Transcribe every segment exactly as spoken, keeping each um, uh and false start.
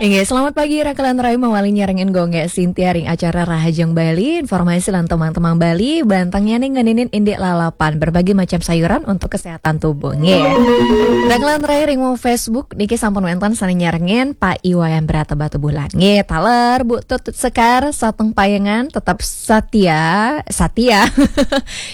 Inggih, selamat pagi, Rakelan Rai, mawali nyarengin Gung Gek Sintia ring acara Rahajeng Bali, informasi lan temang-temang Bali, bantengnya nih ngeninin indik lalapan, berbagai macam sayuran untuk kesehatan tubuh, nggih. Rakelan Rai ring Facebook, niki sampun wenten sane nyarengin Pak Iwayan Brata Batubulan. Nggih, taler Bu Tutut Sekar, Sateng Payangan, tetap satia, satia.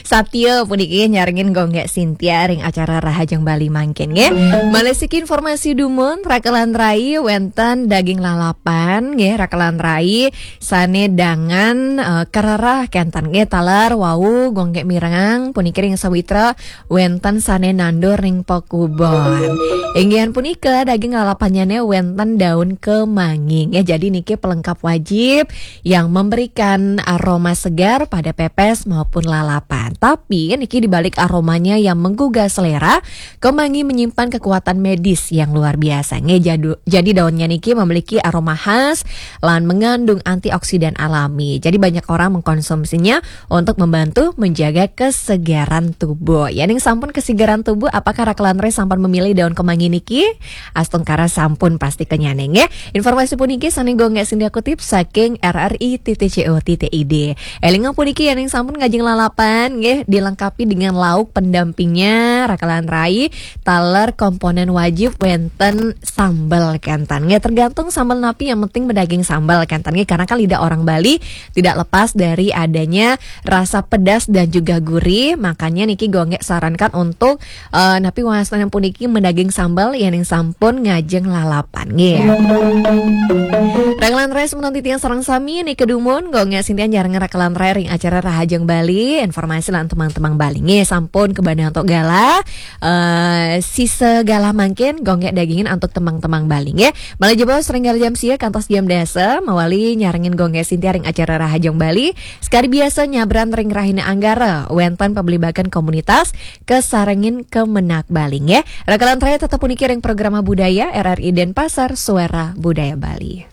Satya puniki nyarengin Gung Gek Sintia ring acara Rahajeng Bali mangkin, nggih. Malih siki informasi dumun, Rakelan Rai wenten daging lalapan, nggih, Rakelan Rai sane dangan, eh, kererah kenten, nggih, taler wau Gung Gek mirengang puniki ring sawitra wenten sane nandur ring pakubon. Inggihan punika daging lalapannyane wenten daun kemangi, nggih. Jadi niki pelengkap wajib yang memberikan aroma segar pada pepes maupun lalapan. Tapi niki di balik aromanya yang menggugah selera, kemangi menyimpan kekuatan medis yang luar biasa. Nggih, jadu- jadi daunnya niki memiliki aroma khas lan mengandung antioksidan alami. Jadi banyak orang mengkonsumsinya untuk membantu menjaga kesegaran tubuh. Yening sampun kesegaran tubuh, apakah Rakelan Rai sampun memilih daun kemangi niki? Astungkara sampun pasti kenyane, nggih. Informasi puniki sane Gung Gek Sintia kutip saking R R I titik C O titik I D. Elinga puniki yening sampun ngajeng lalapan, nggih, dilengkapi dengan lauk pendampingnya, Rakelan Rai, taler komponen wajib wenten sambel kenten. Nggih, tergantung sambel napi, yang penting medaging sambel kenten, nggih, karena kan lidah orang Bali tidak lepas dari adanya rasa pedas dan juga gurih. Makanya niki Gung Gek sarankan untuk, eh, napi wastanan puniki medaging sambel yening sampun ngajeng lalapan, nggih. Rakelan Rai semeton titiang sareng sami niki dumun, Gung Gek Sintia nyarengin Rakelan Rai ring acara Rahajeng Bali, informasi lan temang-temang Bali. Nggih, sampun kebana antuk galah, eh, sisa galah mangkin Gung Gek dagingin antuk temang-temang Bali, nggih. Malih jebos ring galah jam sia kantos jam dasa, mawali nyarengin Gung Gek Sintia ring acara Rahajeng Bali. Sekadi biasa nyabran ring rahina Anggara, wenten pabligbagan komunitas kasarengin Kemenag Bali, nggih. Rakelan Rai tetep puniki ring Programa Budaya R R I Denpasar, Suara Budaya Bali.